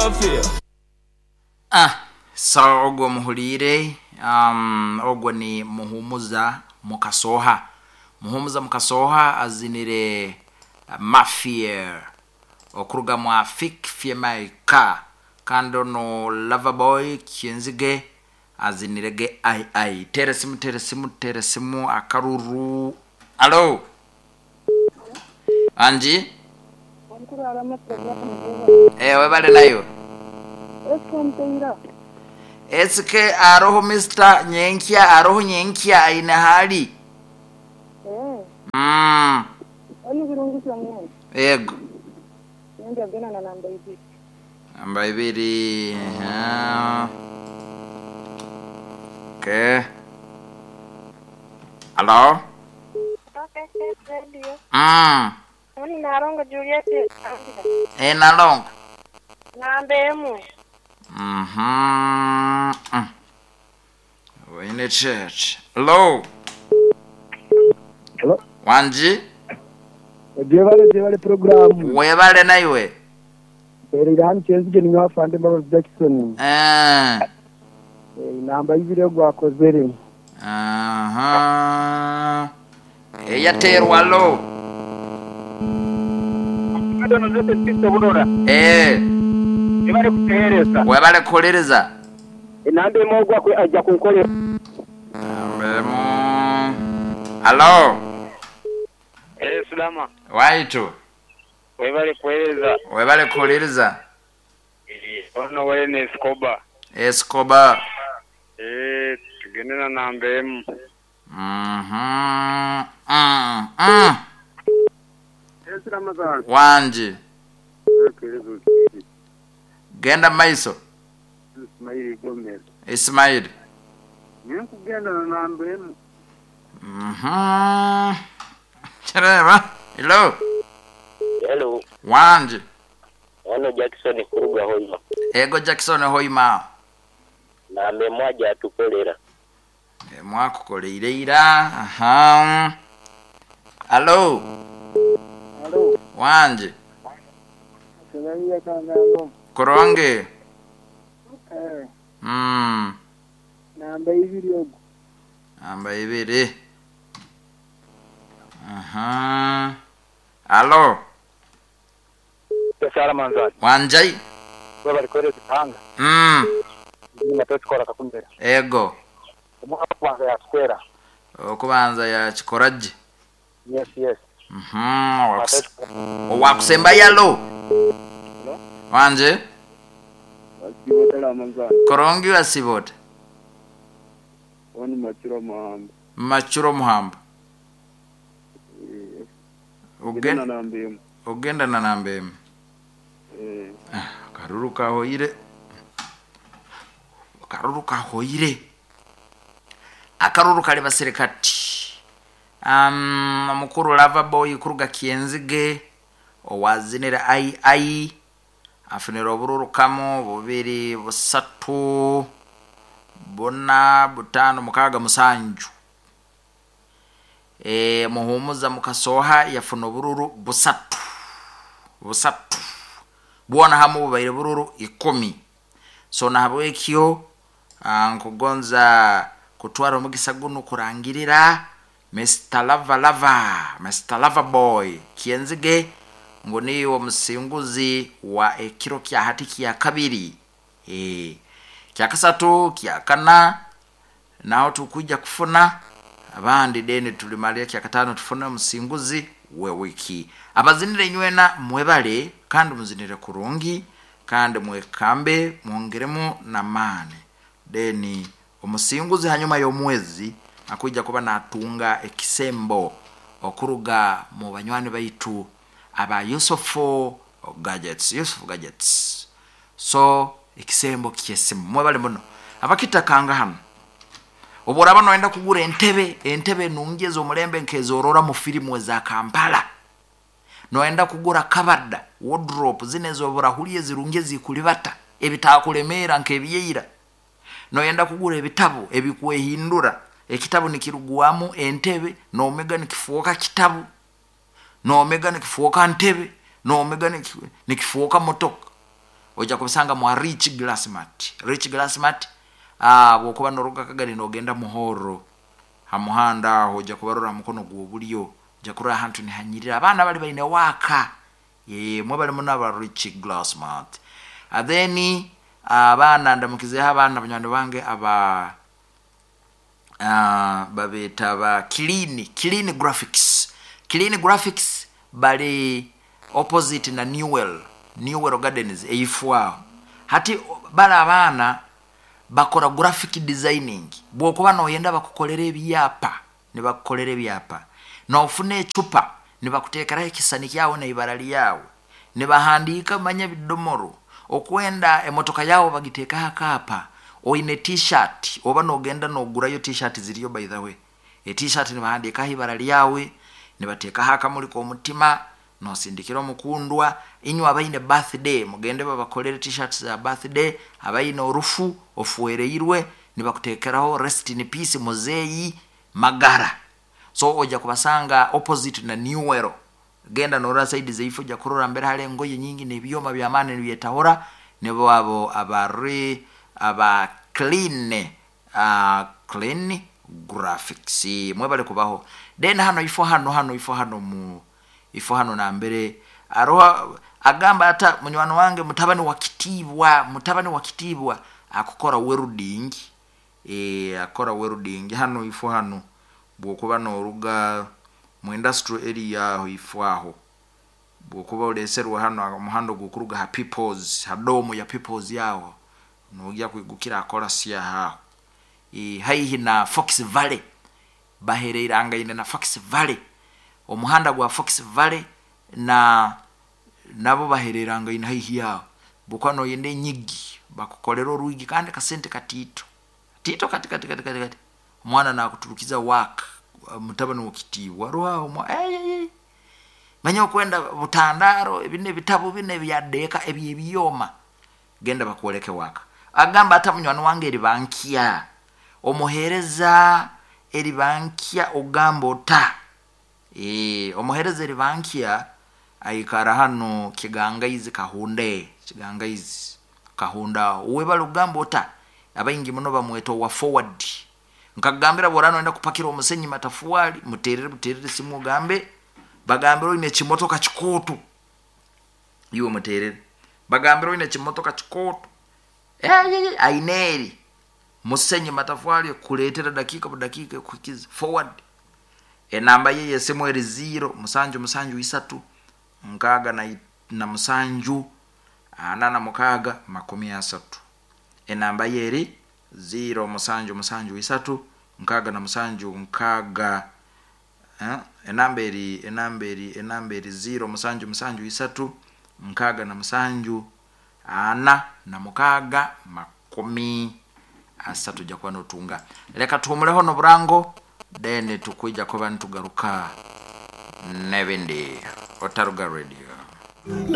Mafia. Ah, so ogwo muhuliire, ogwo ni Muhumuza Mukasoha. Muhumuza Mukasoha azinire Mafia okuruga mwa Fik Fiemaika, kandi ono Loverboy Kyenzige azinirege ai ai. Tera simu, tera simu, tera simu akaruru. Alo, anji webale nayo esike aroho Mr. Nyenkya, aroho Nyenkya aine hali. Ego namba ibiri. Okay. Alo. Narongo Juliet. Nalongo. Namba emu. Wine church. Hello. Hello. Wanji. Jebale jebale programu. Webale naiwe. Erira hano Kyenzige ni afande Mbabazi Jackson. Namba ibiri gwakozere. Aha. Eyaterwa lo. Webale kutehereza. Webale kuhereza. Enamba emu ogwa ajja kunkolera. Namba emu. Alo. Sulama. Waitu. Webale kuhereza. Webale kuhereza. Ono wene Escobar. Escobar. Tugende na namba emu. Wanji. Genda maiso. Ismail Gomez. Ismail. Nkugenda na namba emu. Chireba. Hello. Hello. Wanji. Ono Jackson kuruga Hoima. Ego Jackson Hoima. Namba emwaja atukolera. Mwakukoleire ira. Aha. Hello. Hello. Wanji. Koronge. Namba ibiri ogo. Namba ibiri. Aha. Alo. Sara manzani. Wanjai. Webale kuhereza tanga. Natwe kakumbera. Ego. Okubanza yakikwera. Okubanza yakikoraje. Yes, yes. Owakusemba yalo. Wanje. Korongi wasibota. Oni Machuro Muhamba. Machuro Muhamba. Ogenda na namba emu. Karuru kahoire. Karuru kahoire. Akaruru kali basirikati. Mukuru Loverboy kuruga Kyenzige owazinira ai ai afunira obururu kamu bubiri busatu buna butano mukaga musanju. Muhumuza Mukasoha yafuna obururu busatu busatu bwona hamu bubaire bururu 10. So nahabwekyo nkugonza kutwara omugisa guno kurangirira Mr. Lava Lava, Mr. Lava Boy Kyenzige ngo niyo omusinguzi wa ekiro kya hati kya kabiri, kya kasatu, kya kana naho tukuja kufuna abandi deni tulimalia kya katano tufune omusinguzi we wiki. Abazinire nywena mwebale kandi muzinire kurungi kandi mwekambe mwongeremu na mane. Deni omusinguzi hanyuma y'omwezi akuja kuba natunga ekisembo okuruga mu banywani baitu aba Yusufu Gadgets, Yusufu Gadgets. So ekisembo kyesimu mwebale muno abakitakanga hano. Oboraba noenda kugura entebe, entebe nungi omulembe nkezorora mu filimu za Kampala. Noenda kugura kabada, wardrobe zine zoburahuliye zirungi zikulibata, ebitakulemera nkebiyeira. Noenda kugura ebitabo ebikwehindura, ekitabo nikiruguamu entebe, nomega nikifuoka kitabu, nomega nikifuoka ntebe, nomega nikifuoka motoka. Ojja kubisanga mwa Rich Glassmart. Rich Glassmart, bwokuba noruga Kagari nogenda Muhoro ha muhanda aho ojja kubarora mukono gw'obulyo, ojja kurora ahantu nihanyirira abaana bali baine waaka. Mwe bali muno aba Rich Glassmart. Then abaana ndamukizeho abaana banywani bange aba babeeta ba Clean Graphics. Clean Graphics bali opposite na Newell Gardens eifwao. Hati bali abaana bakora graphic designing. Bwokuba noyenda bakukolera ebyapa, nibakukolera ebyapa. Nofuna echupa nibakuteekeraho ekisani kyawe na ibara lyawe, nibahandiika manya bidomoro. Okwenda emotoka yawe bagiteekaho akapa. Oine t-shirt oba nogenda nogurayo t-shirt ziriyo by the way. E t-shirt nibahandiikaho ibara lyawe, nibateekaho akamuli k'omutima, nosindikira omukundwa. Inywe abaine birthday mugende babakolere t-shirts za birthday. Abaine orufu ofuereirwe nibakuteekeraho rest in peace muzeeyi Magara. So ojja kubasanga opposite na Newell. Genda norora side zeifu ojja kurora mbere hali engoye nyingi n'ebyoma by'amaani nibyetahura. Nibo abo abari aba Clean Clean Graphics. Mwebale kubaho. Then hano ifo hano hano ifo hano mu ifo hano nambere aroha agamba ata munywani wange mutabani wa Kitiibwa, mutabani wa Kitiibwa akukora welding. Akora welding hano ifo hano bwokuba noruga mu industrial area aho ifo aho bwokuba uleserwa hano omuhando gukuruga ha Peoples, ha domu ya Peoples yaho nojya kwigukira akora sia haho. Haihi na Fox Valley, bahereirangaine na Fox Valley, omuhanda gwa Fox Valley na nabo bahereirangaine haihi yaho. Bwokuba noyenda enyigi bakukolera oruigi kandi kasente katito tito kati kati kati kati kati. Omwana nakuturukiza work mutabani wa Kitiibwa ruhaho manya okwenda butandaro ebine ebitabo bine byadeeka ebyebyoma genda bakwoleke waka. Agamba ata munywani wange eribankya omuhereza eribankya ogamba ota omuhereza eribankya aikara hano Kigangaizi Kahunde, Kigangaizi Kahunda webali ogamba ota abaingi muno bamweta owa forward. Nkagambira bworano wenda kupakira omusenyi matafuali muterere buterere simu ogambe bagambira oine ekimotoka kikooto iwe muterere bagambira oine ekimotoka kikooto aineri musenyi matafwali kuletera dakika budakika kukiza forward. Enamba ye yesimu eri 0 7 7 3 6 7 46 30. Enamba ye eri 0 7 7 3 6 7 6 enamba eri 0 7 7 3 6 7 4 46 ojja kuba notunga. Leka tuhumuleho noburango then tukwija kuba nitugaruka nebindi. Otaruga Radio.